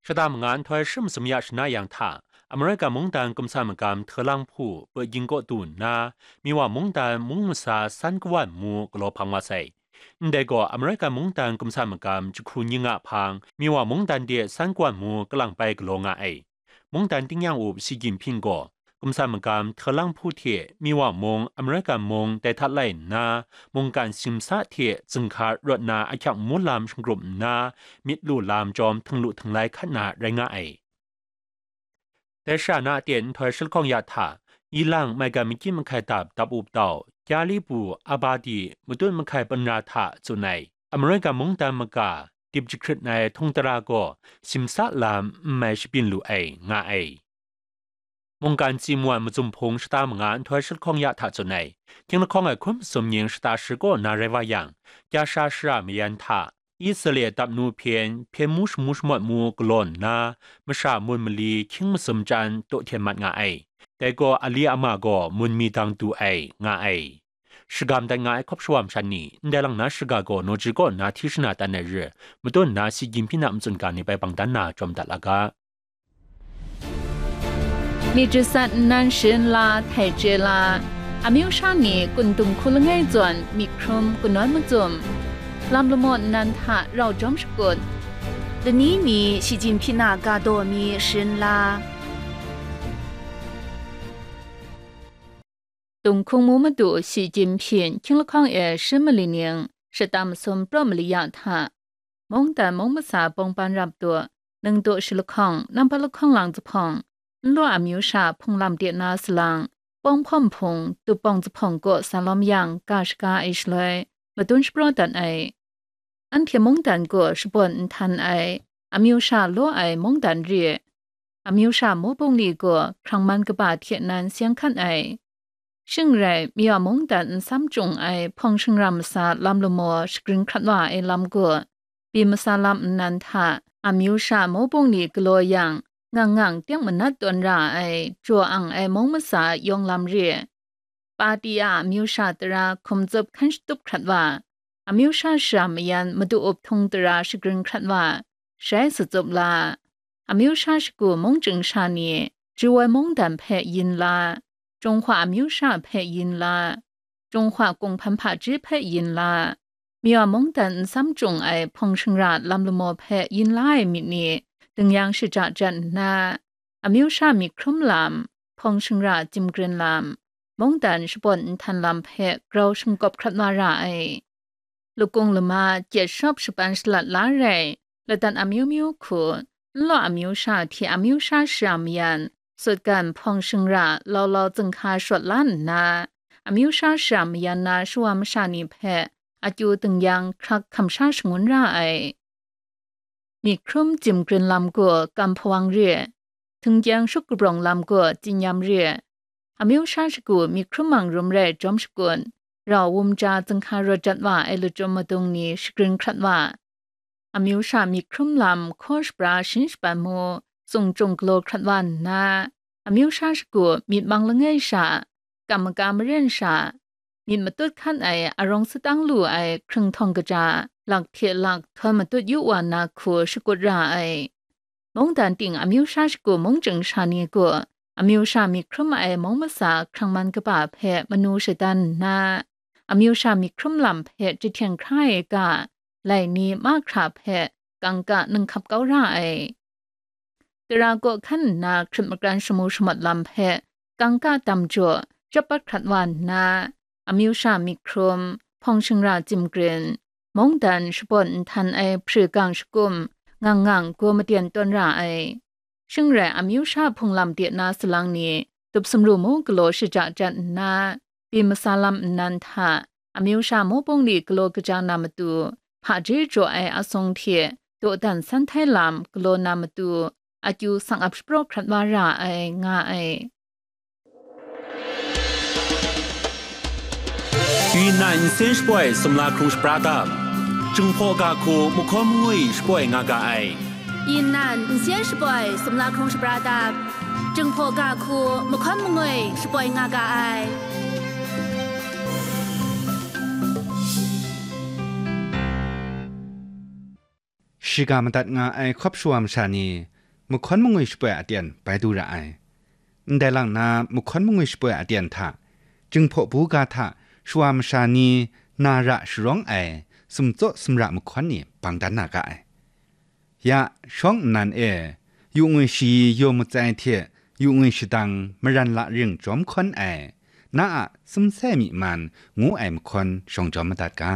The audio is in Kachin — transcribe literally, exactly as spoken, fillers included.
Shata manga nhtoi shi masum ya shana yang hta, Amerika mungdan kumsan magam Hte Lang Hpu Peking kaw du nna, Miwa mungdan mung masa san kawan mu galaw hpang wa sai. Ndai gaw Amerika mungdan kumsan magam jahku ning a hpang, Miwa mungdan de san kawan mu kalang pai galaw nga ai. Mungdan tingnyang up Xi Jinping gaw, kumsan magam Hte Lang Hpu hte Miwa mung, Amerika mung dai hta lai nna, mungkan simsa hte zinghka rawt na ahkyak mu lam shingrup nna, myit lu lam chyawm htinglu htinglai hkat na rai nga ai. Dai shara na aten nhtoi shi lahkawng ya hta, ilang maigan makyit mahkai dap dap up tau, Kyali bu, Abadi, matut mahkai panra hta tsun ai, Amerika mungdan maga, dip jahkrit ai htung tara gaw, simsa lam n mai shabyin lu ai, nga ai. Mungkan Tsim Wan mazum hpung shata manga nhtoi shi lahkawng ya hta tsun ai, hkying lahkawng ai hkun masum ning shata shi kaw na rai wa yang, Kyasha shara mayan hta, Israel dap nu hpyen, hpyen mu shamu shamawt mu galaw nna, masha mun mali hkying masum chyan daw hten mat nga ai. Dai gaw ali ama gaw mun mi dang du ai, nga ai. Shagam dat nga ai hkawp shawam shan ni, ndai lang na shaga gaw naw ji kaw nna hti shana tan ai re, matut nna Xi Jinping a matsun ga ni bai bang dan na jawm dat la ga. Myit jasat nnan sharin la htai chye la, amyu sha ni kun dung hku langai zawn myit hkrum kanawn macum, lam lamaw nnan hta rau jawm shakut, lani mi Shi Jinpyin a ga daw mi sharin la. Tung hkung mu madu Shi Jinpyin hkying lahkawng e shi mali ning shata masum praw mali ya hta, mungdan mung masa bawng ban rap tu, ningtu shi lahkawng, nampa lahkawng lang zuphpawng, nlaw amyu sha hpung lam de na salang, pawng hpawm hpung, tup bawng zuphpawng kaw sa lawm yang ga shaga ai shaloi, madun shapraw dat ai. Anhte mungdan gaw shabawn nhtan ai, amyu sha law ai mungdan re, amyu sha mawbung ni gaw hkrang man kaba hte nan seng hkan ai. Shing rai, Miwa mungdan nsam chyung ai hpawng shingra masa lam lamaw shagrin hkrat wa ai lam gaw, byin masa lam nnan hta amyu sha mawbung ni galaw yang, ngang ngang teng manat tawn ra ai, jaw ang ai mung masa yawng lam re, Pati a amyu sha tara hkum tsup hkan shatup hkrat wa, amyu sha shara mayan madu up htung tara shagrin hkrat wa, shai sa tsup la. Amyu sha shagu mung chying sha ni, Jawai mungdan hpe yin la, Jinghwa amyu sha hpe yin la, Jinghwa kunghpan hpaji hpe yin la, Miwa mungdan nsam chyung ai hpawng shingra lam lamaw hpe yin la ai myit ni, dingyang shaja jan nna, amyu sha myit hkrum lam, hpawng shingra jimgrin lam, mungdan shabawn nhtan lam hpe grau shingkawp hkrat wa ra ai. Lakung lama, gyet shawp shapan shalat la rai, ladan amyu myu hku, nlaw amyu sha hte amyu sha shara mayan, sutgan hpawng shingra lau lau zinghka shawt la nna, amyu sha shara mayan na shawa masha ni hpe akyu dingyang hkrak hkam sha shangun ra ai. Myit hkrum jimgrin lam gaw kam hpawang re, htingkyang shup kabrawng lam gaw tsinyam re, amyu sha shagu myit hkrum mang rum rai jawm shakut, rau wum ja zinghka rawt jat wa ai lachyum madung ni shagrin hkrat wa, amyu sha myit hkrum lam hkaw shapra shin shapan mu, tsung chyung galaw hkrat wa nna, amyu sha shagu myit mang langai sha, kam maka maren sha, myit matut hkan ai arawng satang lu ai hkringhtawng kaja, lak hte lak htawn matut yu wa na hku shakut ra ai. Mungdan ting amyu sha shagu mung chying sha ni gaw, amyu sha myit hkrum ai mung masa hkrang man kaba hpe manu shadan nna, amyu sha myit hkrum lam hpe jahten hkra ai ga, lai ni mahkra hpe kangka ninghkap kau ra ai. Tara kaw hkan nna hkrit makran shamu shamawt lam hpe kangka dam jaw, chyawp pat hkrat wa nna, amyu sha myit hkrum, hpawng shingra jimgrin, mungdan shabawn nhtan ai hpri gang shakum, ngang ngang gaw maten tawn ra ai. Shing rai amyu sha hpung lam de na salang ni, tup sumru mu galaw shaja jan nna, byin masa lam nnan hta, amyu sha mawbung li galaw kaja na matu, hpaji jaw ai asung hte dawdan san htai lam galaw na matu, akyu sang ap shapraw hkrat wa ra ai, nga ai. Yunnan nsen shapoi sumla hkrung shapra dap, Jinghpaw ga hku mahkawn mangwi shapoi nga ga ai. Yunnan nsen shapoi sumla hkrung shapra dap, Jinghpaw ga hku mahkawn mangwi shapoi nga ga ai. Shiga madat nga ai hkawp shawa masha ni, mahkawn mangwi shapoi aten bai du ra ai. Ndai lang na mahkawn mangwi shapoi aten hta, Jinghpaw buga hta shawa masha ni na ra sharawng ai sumtsaw sumra mahkawn ni bang dan na ga ai. Ya, shawng nnan e, yu ngwi shayi yaw matsai hte yu ngwi shadang maran la ring jawm hkawn ai, na a sumsai myi man ngu ai mahkawn shawng jawm madat ga.